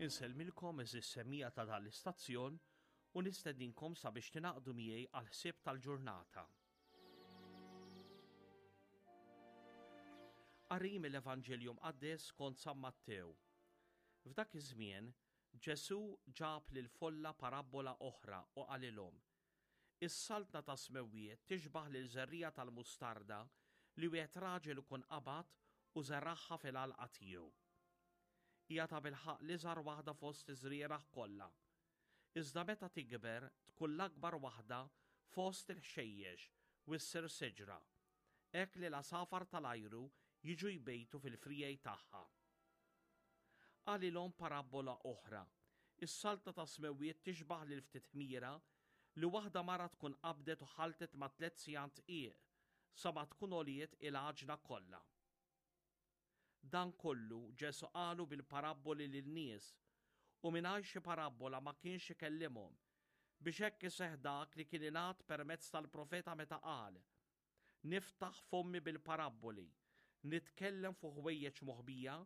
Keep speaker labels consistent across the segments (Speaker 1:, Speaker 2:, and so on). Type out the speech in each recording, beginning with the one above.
Speaker 1: Insellmilkom eżis semija ta' dan l-istazzjon u nistedinkom sabiex tingħaqdu miegħi għal ħsieb tal-ġurnata. Qari mill-Evanġelju Mqaddes skont San Mattew. F'dak iż-żmien, Ġesù ġab lill-folla parabbola oħra u qalilhom, Is-Saltna tas-smewwiet tixbah lil żerriegħa tal-mustarda li wieħed raġel ikun qabad u żeragħha fil-għalqa tiegħu. Hija tabilħaqq l-iżgħar waħda fost iż-żrieragħ kollha. Iżda meta tikber tkun l-akbar waħda fost il-ħxejjex u ssir siġra, hekk li l-għasafar tal-ajru jiġu jbejtu fil-friegħi tagħha. Qalilhom parabbola oħra, Is-Saltna tas-smewwiet tixbah lil ftit ħmira li waħda mara tkun qabdet u ħalltet ma' tlett sigħan dqiq sa ma tkun għoliet il-għaġna kollha. Dan kollu Ġesù qalu bil-parabboli lin-nies, u mingħajr xi parabbola ma kienx ikellimhom, biex hekk iseħħ dak li kien ingħad permezz tal-profeta meta qal, Niftaħ fommi bil-parabboli, nitkellem fuq ħwejjeġ moħbija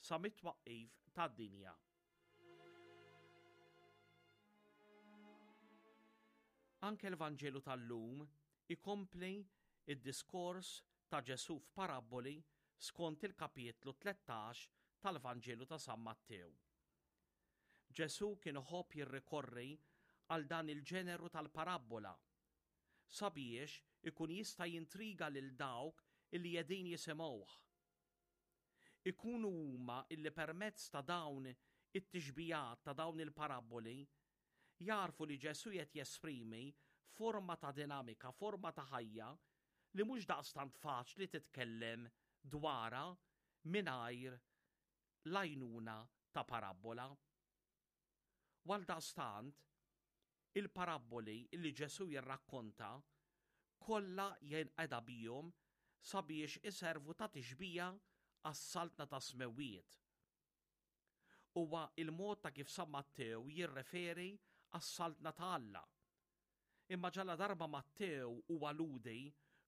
Speaker 1: sa mit-twaqqif tad-dinja. Anke l-Vanġelu tal-lum ikompli id-diskors ta' Ġesù f'parabboli skont il-kapitlu 13 tal-Vanġelu ta' San Mattew. Ġesù kien iħobb jirrikorri għal dan il-ġeneru tal-parabbola sabiex ikun jista' jintriga lil dawk illi qegħdin jisimgħuh. Ikunu huma illi permezz ta' dawn it-tixbihat ta' dawn il-parabboli jagħrfu li Ġesù qed jesprimi forma ta' dinamika, forma ta' ħajja li mhux daqstant faċli titkellem dwarha mingħajr l-għajnuna ta' parabbola. U għaldaqstant, il-parabboli li Ġesù jirrakkonta kollha jinqeda bihom sabiex iservu ta' tixbija għas-Saltna tas-Smewwiet. Huwa l-mod ta' kif San Mattew jirreferi għas-Saltna ta' Alla. Imma ġaladarba Mattew huwa Lhudi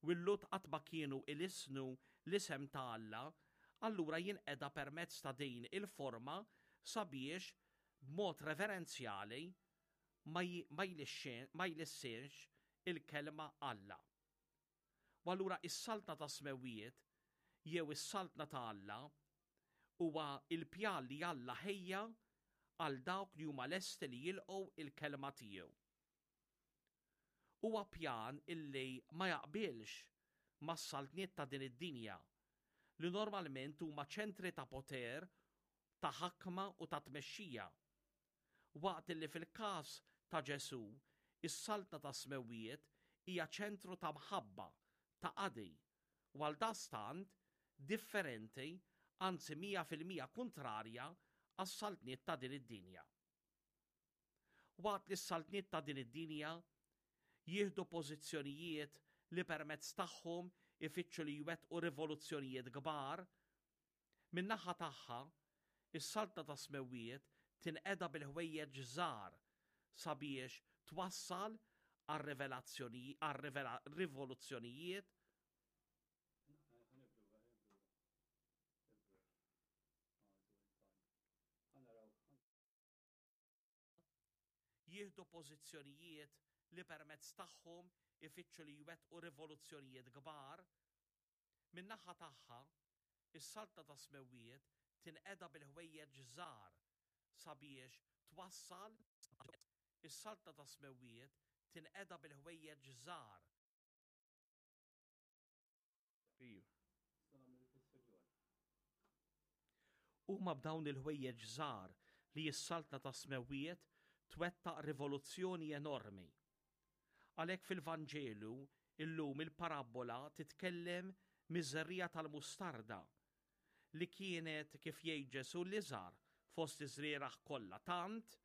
Speaker 1: u l-Lhud qatt ma kienu ilissnu l-isem ta' Alla, allura jinqeda permezz ta' din il-forma sabiex b'mod reverenzjali ma jlissinx il-kelma Alla. U allura is-Saltna tas-Smewwiet jew is-Saltna ta' Alla huwa l-pjan li Alla ħejja għal dawk li huma lesti li jilqgħu il-kelma tiegħu. Huwa pjan illi ma jaqbilx mas-saltniet ta' din id-dinja li normalment huma ċentri ta' poter, ta' ħakma u ta' tmexxija. Waqt illi fil-każ ta' Ġesù, is-Saltna tas-Smewwiet hija ċentru ta' mħabba, ta' qadi, u għaldaqstant differenti, anzi 100% kuntrarja għas-saltniet ta' din id-dinja. Waqt li s-saltniet ta' din id-dinja jieħdu pożizzjonijiet li permezz tagħhom ifittxu li jwettqu rivoluzzjonijiet kbar, min-naħa tagħha, is-Saltna tas-Smewwiet tinqeda bil-ħwejjeġ żgħar sabiex twassal għal rivoluzzjonijiet jieħdu pożizzjonijiet li permezz tagħhom ifittxu li jwettqu rivoluzzjonijiet kbar, min-naħa tagħha, is-Saltna tas-Smewwiet tinqeda bil-ħwejjeġ żgħar sabiex twassal Is-Saltna tas-Smewwiet tinqeda bil-ħwejjeġ żgħar. Huma b'dawn il-ħwejjeġ żgħar li s-Saltna tas-Smewwiet twettaq rivoluzzjoni enormi. Għalhekk fil-Vanġelu illum il-parabbola titkellem miż-żerriegħa tal-mustarda li kienet kif jgħid Ġesù l-iżgħar fost iż-żrieragħ kollha tant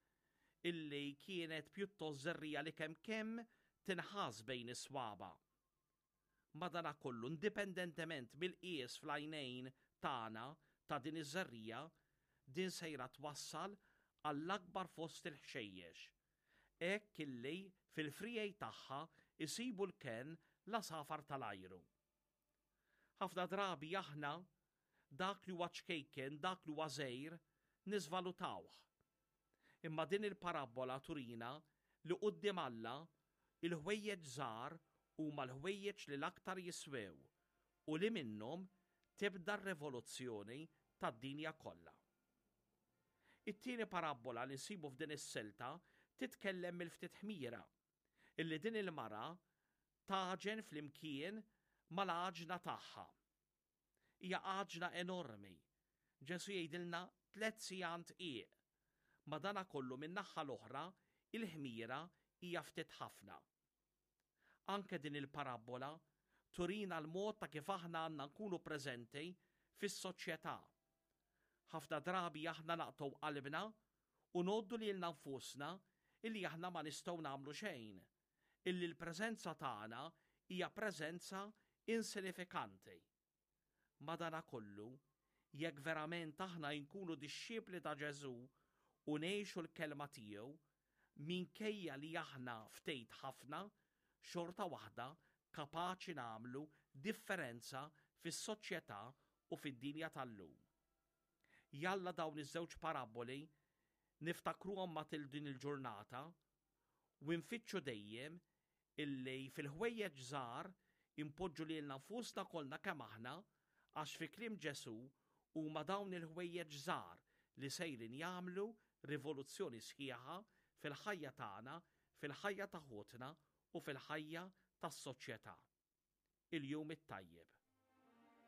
Speaker 1: illi kienet pjuttost żerriegħa li kemm kemm tinħass bejn is-swaba'. Madanakollu, indipendentement mill-qies fl-għajnejn tagħna ta' din iż-żerriegħa, din sejra twassal għall-akbar fost il-ħxejjex, hekk illi fil-friegħi tagħha jsibu l-kenn l-għasafar tal-ajru. Ħafna drabi aħna dak li huwa ċkejken, dak li huwa żgħir, niżvalutawh. Imma din il-parabbola turina li quddiem Alla il-ħwejjeġ żgħar huma l-ħwejjeġ li l-aktar jiswew u li minnhom tibda r-rivoluzzjoni tad-dinja kollha. It-tieni parabbola li nsibu f'din is-silta titkellem mill-ftit ħmira illi din il-mara tagħġen flimkien mal-għaġna tagħha. Hija għaġna enormi. Ġesù jgħidilna tlett sigħan dqiq. Madanakollu min-naħha l-oħra il-ħmira hija ftit ħafna. Anke din il-parabbola turina l-mod ta' kif aħna għandna nkunu preżenti fis-soċjetà. Ħafna drabi aħna naqtgħu qalbna u ngħoddu lilna nfusna illi aħna ma nistgħu nagħmlu xejn, illi l-preżenza tagħna hija preżenza insinifikanti. Madanakollu, jekk verament aħna inkunu dixxipli ta' Ġesù u ngħixu l-kelma tiegħu, minkejja li aħna ftejt ħafna, xorta waħda kapaċi nagħmlu differenza fis-soċjetà u fid-dinja tal-lum. Jalla dawn iż-żewġ parabboli niftakruhom matul din il-ġurnata u nfittxu dejjem illi fil-ħwejjeġ żgħar inpoġġu lilna nfusna kollna kemm aħna għax fi kliem Ġesù huma dawn il-ħwejjeġ żgħar li sejrin jagħmlu rivoluzzjoni sħiħa fil-ħajja tagħna, fil-ħajja ta' ħutna u fil-ħajja tas-soċjetà. Il-jum it-tajjeb.